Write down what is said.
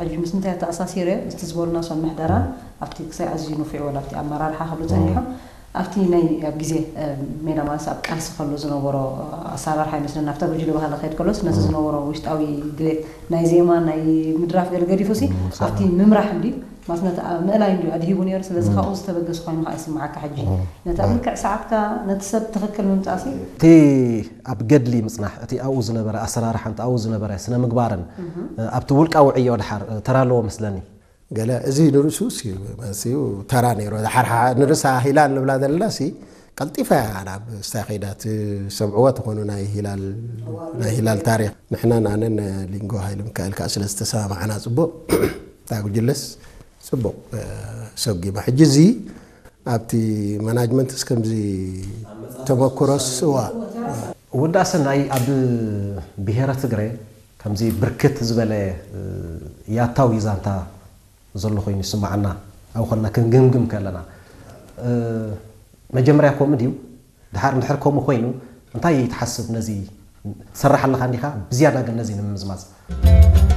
ሕጂ ምስ ምንታይ ኣተኣሳሲረ፣ እቲ ዝበሉና ሰብ ምሕደራ ኣብቲ ክሳይ ኣዝዩ ንፉዕ ወላ ኣብቲ ኣመራርሓ ክብሉ ጸኒሖም። ኣብቲ ናይ ኣብ ግዜ ሜዳ ማለት ኣብ ቃልሲ ከሎ ዝነበሮ ኣሰራርሓ ይመስለና ኣብታ ጉጅለ ባህሊ ክኸይድ ከሎስ ነቲ ዝነበሮ ውሽጣዊ ድሌት ናይ ዜማ ናይ ምድራፍ ገለ ገዲፉ ሲ ኣብቲ ምምራሕ እንዲ ማለት ነቲ ምእላይ እንዲ ኣድሂቡ ነይሩ። ስለዚ ካብኡ ዝተበገሱ ኮይኑ ከዓ ይስምዓካ። ሕጂ ነታ ምልክዕ ሰዓትካ ነቲ ሰብ ትኽክል ምምጻእ ሲ እቲ ኣብ ገድሊ ምጽናሕ እቲ ኣብኡ ዝነበረ ኣሰራርሓን ኣብኡ ዝነበረ ስነ ምግባርን ኣብቲ ውልቃዊ ዕዮ ድሓር ተራ ኣለዎ መስለኒ። ገለ እዚ ንርእሱ ሲ መሲኡ ተራ ነይሩ። ድሓር ሓ- ንርእሳ ሂላል ንብላ ዘለና ሲ ቀልጢፋ እያ ናብ ስታይ ከይዳ ትሰምዕዎ ትኾኑ ናይ ሂላል ናይ ሂላል ታሪኽ። ንሕናን ኣነን ሊንጎ ሃይለ ሚካኤል ከዓ ስለ ዝተሰማማዕና ጽቡቕ እታ ጉጅለስ ጽቡቕ ሰጊማ። ሕጂ እዚ ኣብቲ ማናጅመንትስ ከምዚ ተመክሮስ እዋ ወዳሰናይ ኣብ ብሄረ ትግረ ከምዚ ብርክት ዝበለ ያታዊ ዛንታ ዘሎ ኮይኑ ይስማዓና። ኣብ ኾና ክንግምግም ከለና መጀመርያ ከምኡ ድዩ? ድሓር እንድሕር ከምኡ ኮይኑ እንታይ ትሓስብ? ነዚ ትሰርሕ ኣለኻ እንዲኻ ብዝያዳ ግን ነዚ ንምምዝማዝ